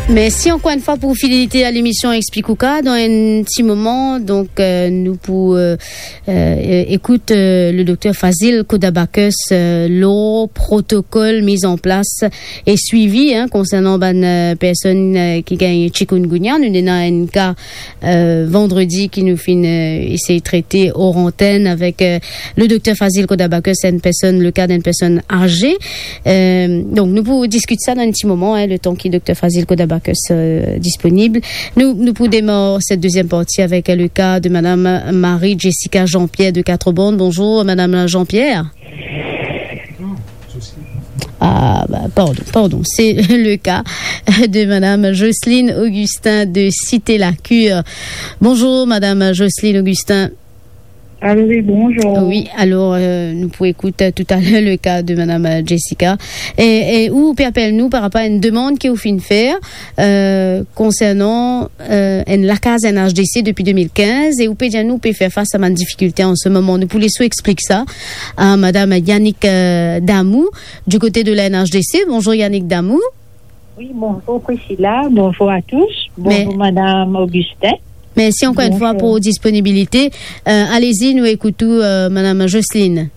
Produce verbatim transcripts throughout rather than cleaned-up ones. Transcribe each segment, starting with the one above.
Mersi ankor enn fwa pou fidelite a lemision Explic Ou Ka. Dan enn ti moman, donk, euh, nou pou, euh, euh, ekout, euh, le dokter Fazil Kodabakos, euh, lor protokol miz an plas e swivi, hein, konsernan bann, euh, personn, euh, ki gagn chikungunya. Nou ena enn ka, euh, vandredi ki nou finn, euh, esey trete or antenn avek, euh, le dokter Fazil Kodabakos, enn personn, le ka d'enn personn aze. Euh, donk, nou pou diskit sa dan enn ti moman, hein, letan ki dokter Fazil Kodabakos, euh, disponib. Nou, nou pou demar set deziem parti avek le ka de madam Marie Jessica Jean-Pierre de Quatre-Bornes. Bonzour, madam Jean-Pierre. Ah, bah, pardon, pardon. C'est le cas de madame Jocelyne Augustin de Cité-la-Cure. Bonzour, madam Jocelyne Augustin. Allô, oui, bonzour. Oui, alor, euh, nou pou ekout, euh, toutaler le ka de madam, euh, Jessica. E, e ou pe apel nou par rapor a enn demann ki ou finn fer, euh, konsernan, euh, enn lakaz enn H D C depi de mil kinz, e ou pe dir nou ou pe fer fas a bann difikilte an se moman. Nou pou les ou explik sa a madam Yannick, euh, Damou, du kote de la N H D C. Bonzour Yannick Damou. Oui, bonjour Priscilla, bonjour à tous, bonjour Madame Augustin. Mersi ankor enn fwa pou disponibilite. Euh, alezi, nou ekout ou, euh, madam Jocelyne.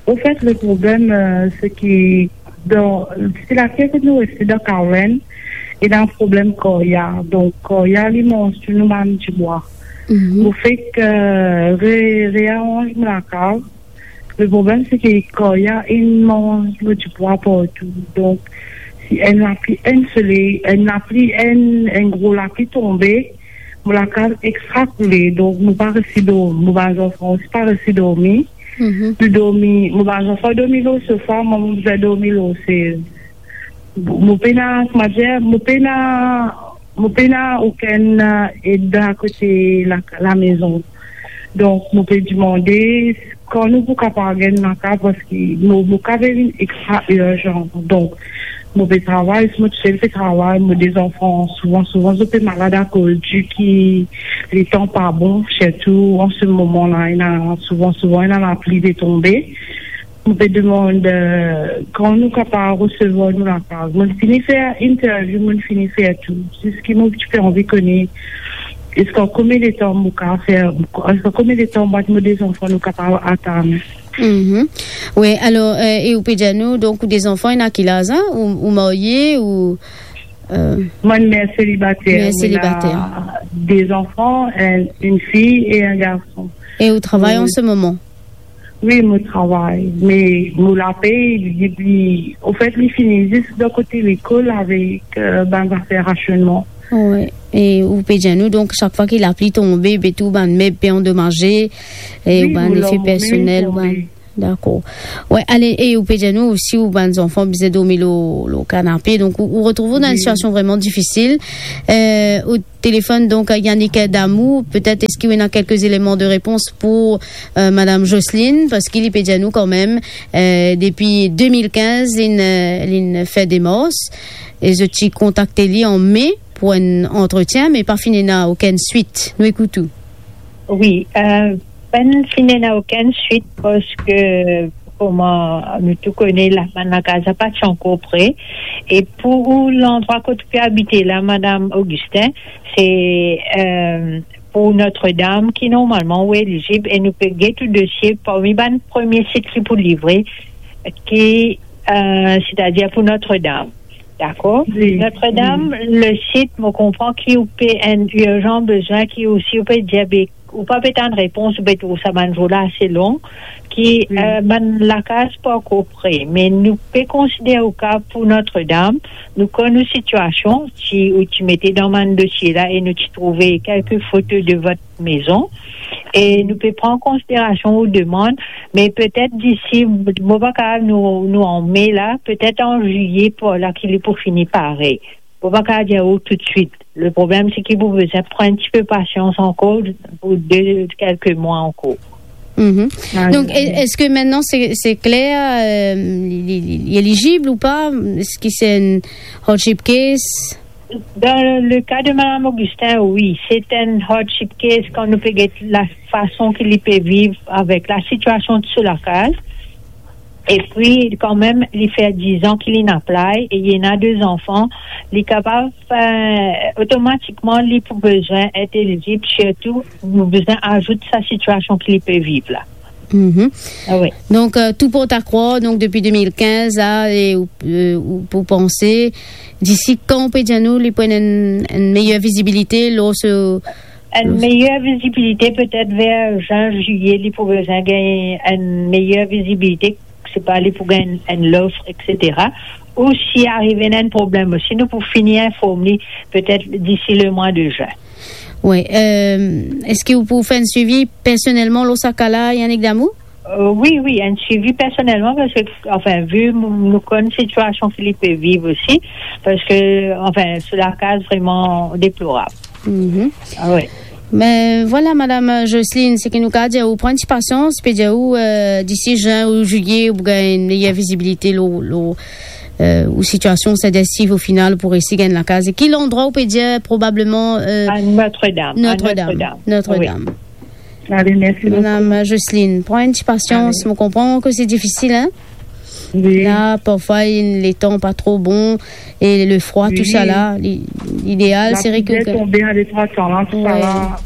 Au fait, le problème, euh, c'est que dans, c'est la pièce que nous restons dans Carwen, il y a un problème koria. Donc, koria, il mange tout le monde du bois. Au fait que, ré-, réarrange la cave, le problème, c'est que koria, il mange le du bois partout. Donc, si enn lapli, enn soley, enn lapli, enn, enn gro lapli tonbe, mo lakaz extra koule. Donk, mo pa resi dormi. Mo bann zanfan osi pa resi dormi. Nou dormi, mo bann zanfan dormi lor sofa, mwa, mo bizin dormi lor sez. Mo pena, kouma dir, mo pena, mo pena okenn, euh, ed dan kote la, lamezon. Donk, mo pe demande kan nou pou kapav gagn lakaz, parski mo, mo ka vinn extra irzan. Donk, mo pe travay, mo tousel pe travay, mo de zanfan, souvan, souvan, zot pe malad akoz di ki letan pa bon, sirtou an se moman la, ena souvan, souvan, ena lapli pe tonbe. Mo pe demann, euh, kan nou kapav resevwar nou lakaz. Mo fini fer interview, mo fini fer tou. Zis ki mo ti pe anvi kone, eski konbien letan mo kapav fer, eski konbien letan mwa ek mo de zanfan nou kapav atann? Mhm. Wi, alor, euh, e ou pe dir nou, donk, ou de zanfan, ena ki laz, hein? Ou, ou marye, ou, euh, mwa, mer selibater. Mer selibater. Mo ena de zanfan, enn, enn fiy e enn garson. E ou travay an se moman? Wi, mo travay, me mo lapey, li, li, anfet, li fini zis dan kote lekol avek, euh, bann zafer rasionnman. Wi, e ou pe dir nou, donk, sak fwa ki lapli tonbe, be tou bann meb pe andomaze, e wi, bann mo efe personel, tonbe. Dakor. Wi, ale, e ou pe dir nou osi, ou bann zanfan bizin dormi lor, lor kanape, donk ou, ou retrouv ou dan enn sitiasion vreman difisil. Euh, ou telefonn, donk, Yannick Damou, petet eski ou ena kelke eleman de repons pou, euh, madam Jocelyne, parski li pe dir nou kanmem, euh, depi de mil kinz, linn, euh, linn fer demars, e zot ti kontakte li an me pou enn antretien, me pa finn ena okenn swit. Nou ekout ou. Wi, euh, pa finn ena okenn swit, parski, kouma nou tou kone, la, bann lakaz la pa ti ankor pre. E pou ou, landrwa kot ou pe abite la, madam Augustin, se, euh, pou Notre-Dame, ki normalman ou elizib, e nou pe get ou dosie parmi bann premie sit ki pou livre, ki, euh, setadir pou Notre-Dame. Dakor? Wi. Notre-Dame, wi, le sit, mo konpran ki ou pe enn irzan bizin, ki osi ou pe dir, be, ou pa pe tann repons, ou pe trouv sa bann zour la ase long, ki, wi, euh, bann lakaz pa ankor pre. Me nou pe konsidere ou ka pou Notre-Dame, nou konn ou sitiasion, ti, ou ti mete dan bann dosie la e nou ti trouve kelke foto de vot maison, e nou pe pran konsiderasion ou demann, me petet disi, mo pa kapav nou, nou an me la, petet an zilie par la ki li pou fini pare. Mo pa kapav dir ou toutswit. Le problem, se ki pou bizin pran enn tipe pasians ankor pou de, kelke mwa ankor. Mhm. Ah, donk, wi, e-, eski aster se, se kler, euh, li, li, li, li elizib ou pa? Eski se enn hardship case? Dan le ka de madam Augustin, wi, se enn hardship case kan nou pe get lafason ki li pe viv avek lasitiasion de so lakaz. Epi, kanmem, li fer diz an ki li ena play e li ena de zanfan, li kapav, eh, otomatikman, li pou bizin et elizib, sirtou, nou bizin azout sa sitiasion ki li pe viv la. Mhm. Ah wi. Donk, eh, tou port a krwar, donk, depi de mil kinz la, e ou, eh, ou pou panse, disi kan ou pe dir nou, li pou ena enn, enn meyer vizibilite lor se... Enn meyer vizibilite, petet ver zin, zilie, li pou bizin gagn enn meyer vizibilite, se pa li pou gagn enn lof, et cetera. Ou si arive ena enn problem osi, nou pou fini inform li, petet disi lemwa de zin. Wi, eh, eski ou pou fer enn swivi personelman lor sa ka la, Yannick Damou? Eh, wi, wi, enn swivi personelman, parski, anfin, vi nou, nou konn sitiasion ki li pe viv osi, parski, anfin, so lakaz vreman deplorab. Mhm. Ah wi. Me vwala, Madam Jocelyne, seki nou kapav dir ou, pran enn ti pasians, pe dir ou, eh, disi zin ou zilie, ou pou gagn enn meyer vizibilite lor, lor, eh, ou sitiasion, setadir si o final pou resi gagn lakaz. E ki landrwa ou pe dir probableman, eh... A Notre-Dame, a Notre-Dame. Notre-Dame. Notre-Dame. Wi. Ale, mersi boukou. Madam Jocelyne, pran enn ti pasians. Ale. Mo konpran ke se difisil, hein? Wi. La, parfwa, letan pa tro bon, e le frwa, wi, tou sa la, li-, lideal, lapli seri ki tonbe, ale trwa tan la, tou sa la. Wi.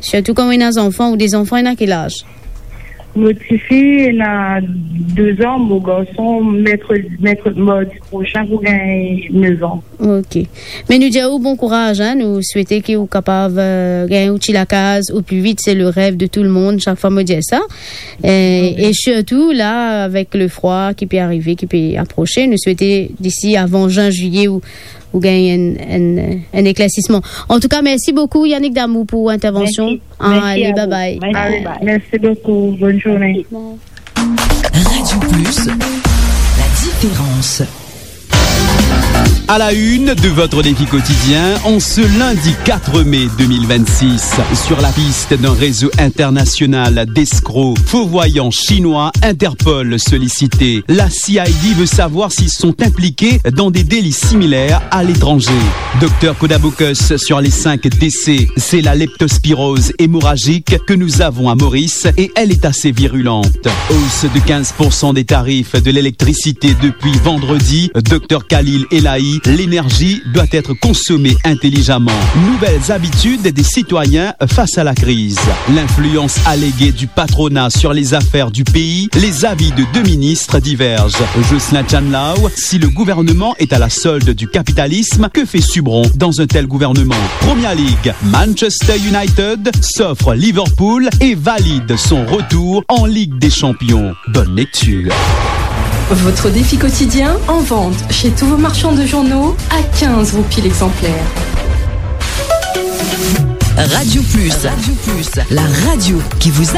Sirtou kan ou ena zanfan, ou de zanfan, ena ki laz? Mo tifi ena de zan, mo garson, merkre-, merkre-, mardi prosin pou gagn nef an. Ok. Me nou dir ou bon kouraz, hein, nou swete ki ou kapav, eh, gagn ou ti lakaz o pli vit, se le rev de tou le mond, sak fwa mo dir sa. Eh, wi. E sirtou la, avek le frwa ki pe arive, ki pe aprose, nou swete disi avan zin, zilie, ou, ou gagn enn, enn, enn eklersisman. Antouka, mersi boukou, Yannick Damou, pou intervension. Mersi. Ah, mersi ale, a ou. Bye bye. Mersi, bye. Mersi boukou. Bonn zourne. Mersi. Radio Plus, la différence. À la une de votre défi quotidien, en ce lundi quatre mai deux mille vingt-six, sur la piste d'un réseau international d'escrocs, faux voyants chinois, Interpol sollicité. La C I D veut savoir s'ils sont impliqués dans des délits similaires à l'étranger. Docteur Kodabocus, sur les cinq décès, c'est la leptospirose hémorragique que nous avons à Maurice et elle est assez virulente. Hausse de quinze pour cent des tarifs de l'électricité depuis vendredi. Docteur Khalil Elahi, l'énergie doit être consommée intelligemment. Nouvelles habitudes des citoyens face à la crise. L'influence alléguée du patronat sur les affaires du pays, les avis de deux ministres divergent. Jocelyn Tchanlao, si le gouvernement est à la solde du capitalisme, que fait Subron dans un tel gouvernement ? Première Ligue, Manchester United s'offre Liverpool et valide son retour en Ligue des Champions. Bonne lecture. Votre défi quotidien en vente chez tous vos marchands de journaux à quinze roupies l'exemplaire. Radio Plus. Radio Plus, la radio qui vous